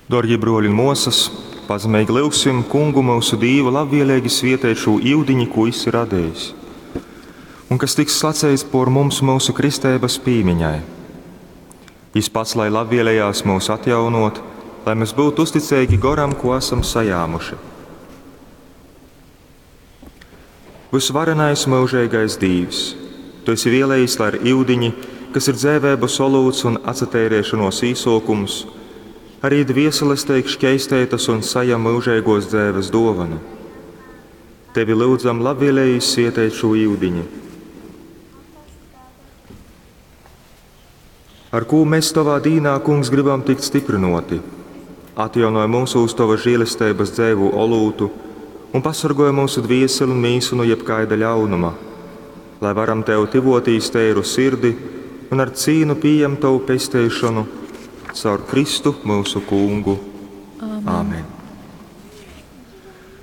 Dōrgī brōļi un mōsas, pazemeigi lyugsim Kungu myusu Dīvu labvieleigi svieteit šū iudiņi, kū Jis ir radejis, un kas tiks slaceits pōr mums myusu kristeibas pīmiņai. Jis pats lai labvielejās myus atjaunōt, lai mes byutu uzticeigi Goram, kū asam sajāmuši. Vysvarenais myužeigais Dīvs, Tu esi vēlējis, lai ar iudiņi, kas ir dzeiveibas olūts un atsateireišonuos īsōkums, arī dvieseles teik škeisteitas un sajam myužeigōs dzeives dōvanu. Tevi lyudzam labvielējīs svieteit šū iudiņi, ar kū mēs Tovā dīnā, Kungs, gribam tikt styprynōti. Atjaunoj mūsūs Tovas žēlesteibas dzeivū olūtu un pasorgoj myusu dvieseli un mīsu nu jebkaida ļaunuma, lai varam Tev tyvōtīs teiru sirdi un ar cīnu pījemt Tovu pesteišonu caur Kristu myusu Kungu. Amen. Amen.